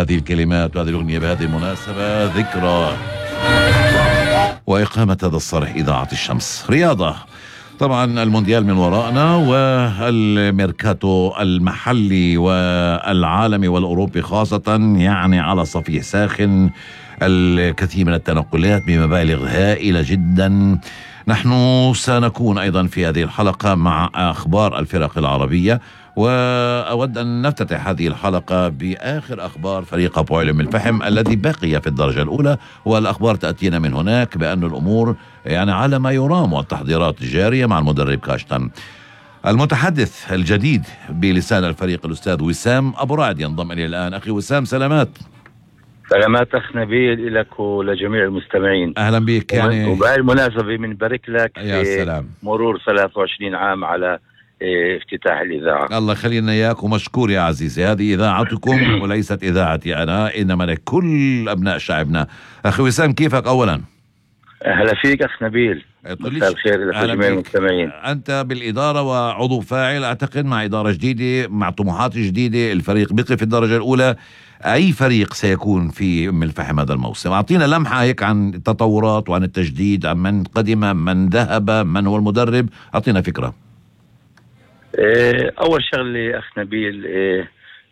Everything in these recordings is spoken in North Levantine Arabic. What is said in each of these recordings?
هذه الكلمات وهذه الأغنية بهذه المناسبة، ذكرى وإقامة هذا الصرح إذاعة الشمس. رياضة، طبعا المونديال من وراءنا، والميركاتو المحلي والعالمي والأوروبي خاصة يعني على صفيح ساخن، الكثير من التنقلات بمبالغ هائلة جدا. نحن سنكون أيضا في هذه الحلقة مع أخبار الفرق العربية، وأود أن نفتتح هذه الحلقة بآخر أخبار فريق أبو علم الفحم الذي بقي في الدرجة الأولى، والأخبار تأتينا من هناك بأن الأمور يعني على ما يرام، والتحضيرات جارية مع المدرب كاشتن. المتحدث الجديد بلسان الفريق الأستاذ وسام أبو رعد ينضم إلي الآن. أخي وسام، سلامات. سلامات أخ نبيل لك ولجميع المستمعين. أهلا بك. يعني وبهذه المناسبة بنبارك لك يا سلام مرور 23 عام على افتتاح الإذاعة. الله يخلينا إياك ومشكور يا عزيزي. هذه إذاعتكم وليست إذاعتي أنا، إنما لكل أبناء شعبنا. أخي وسام، كيفك أولا؟ أهلا فيك أخ نبيل، مساء الخير لجميع المستمعين. أنت بالإدارة وعضو فاعل أعتقد، مع إدارة جديدة مع طموحات جديدة. الفريق بقي في الدرجة الأولى. أي فريق سيكون في أم الفحم هذا الموسم؟ أعطينا لمحة هيك عن التطورات وعن التجديد، عن من قدم، من ذهب، من هو المدرب. أعطينا فكرة. أول شغلة أخ نبيل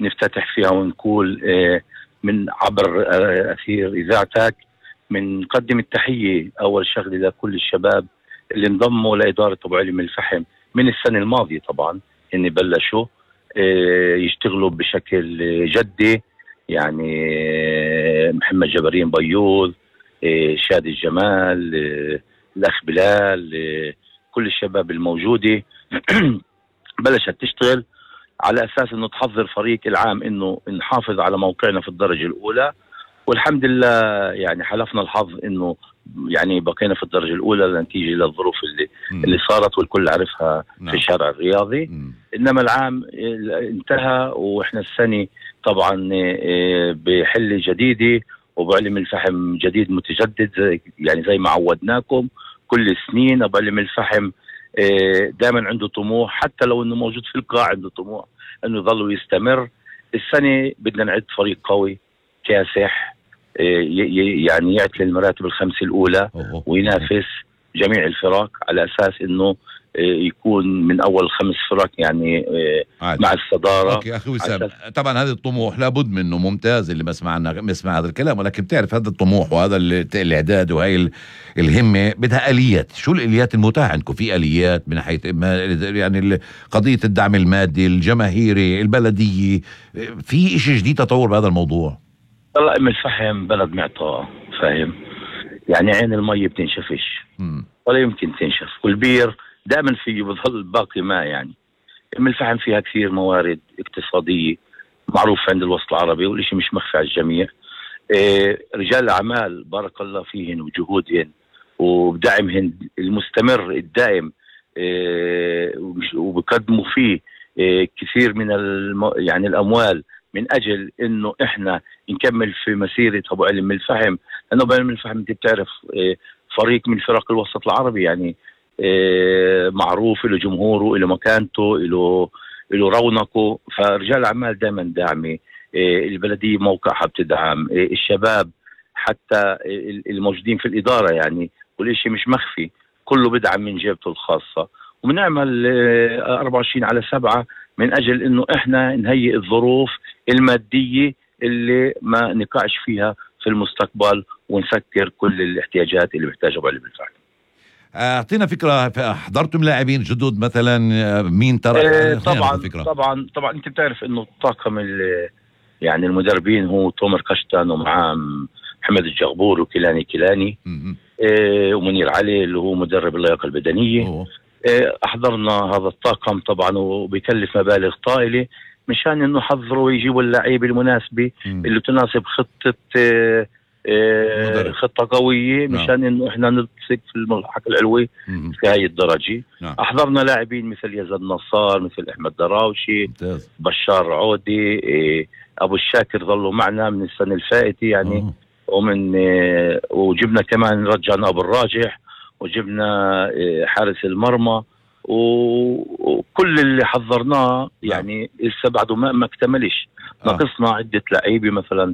نفتتح فيها ونقول من عبر أثير إذاعتك من نقدم التحية أول شغلة لكل الشباب اللي انضموا لإدارة أبو علم الفحم من السنة الماضية. طبعا إن بلشوا يشتغلوا بشكل جدي، يعني محمد جبرين بيوض، شادي الجمال، الأخ بلال، كل الشباب الموجودة بلشت تشتغل على أساس إنه تحضر فريق العام إنه نحافظ على موقعنا في الدرجة الأولى. والحمد لله يعني حلفنا الحظ إنه يعني بقينا في الدرجة الأولى نتيجة للظروف اللي صارت والكل عرفها في الشارع الرياضي. إنما العام انتهى وإحنا السنة طبعا بحلة جديدة وبعلم الفحم جديد متجدد، يعني زي ما عودناكم كل سنين. أبو علم الفحم دائما عنده طموح، حتى لو انه موجود في القاع عنده طموح انه يظل يستمر. السنة بدنا نعد فريق قوي كاسح، يعني يعتلي المراتب الخمسة الأولى وينافس جميع الفرق على أساس إنه يكون من أول 5 فرق يعني مع الصدارة. أوكي أخي وسام، طبعا هذا الطموح لابد منه، ممتاز اللي بسمع هذا الكلام، ولكن بتعرف هذا الطموح وهذا الإعداد وهي الهمة بدها آليات. شو الآليات المتاحة عندكم؟ في آليات من حيث يعني قضية الدعم المادي الجماهيري البلدية، في إشي جديد تطور بهذا الموضوع؟ والله أم الفحم بلد معطاء، فاهم يعني عين المي بتنشفش ولا يمكن تنشف، والبير دائما فيه بظل باقي ماء. يعني أم الفحم فيها كثير موارد اقتصادية معروف عند الوسط العربي والشيء مش مخفي على الجميع. رجال الأعمال بارك الله فيهن وجهودهن وبدعمهن المستمر الدائم، وبقدموا فيه كثير من يعني الأموال من أجل إنه إحنا نكمل في مسيرة أبو علم الفحم. لأنه أبو علم الفحم أنت بتعرف فريق من فرق الوسط العربي، يعني معروف له جمهوره، له مكانته، له رونقه. فرجال الأعمال دائما داعمة، البلدية موقعها بتدعم الشباب، حتى الموجودين في الإدارة يعني كل شيء مش مخفي، كله بدعم من جيبته الخاصة. وبنعمل 24/7 من أجل إنه إحنا نهيئ الظروف المادية اللي ما نقعش فيها في المستقبل ونسكر كل الاحتياجات اللي بيحتاجها أبو علم الفحم. أعطينا فكرة، حضرتم لاعبين جدد مثلا؟ مين ترى؟ طبعا أنت بتعرف إنه الطاقم يعني المدربين هو تومر كاشتان ومعاه محمد الجغبور وكيلاني ومنير علي اللي هو مدرب اللياقة البدنية. أحضرنا هذا الطاقم طبعا وبيكلف مبالغ طائلة مشان إنه حضروا ويجيبوا اللعيبة المناسبة اللي تناسب خطة قوية مشان إنه إحنا نلتصق في الملحق العلوي في هاي الدرجة. أحضرنا لاعبين مثل يزن نصار، مثل أحمد دراوشي، بشار عودي، أبو الشاكر ظلوا معنا من السنة الفائتة يعني. وجبنا كمان رجعنا أبو الراجح، وجبنا حارس المرمى، وكل اللي حضرناه يعني لسه بعده ما اكتملش. ناقصنا عدة لعيبة مثلا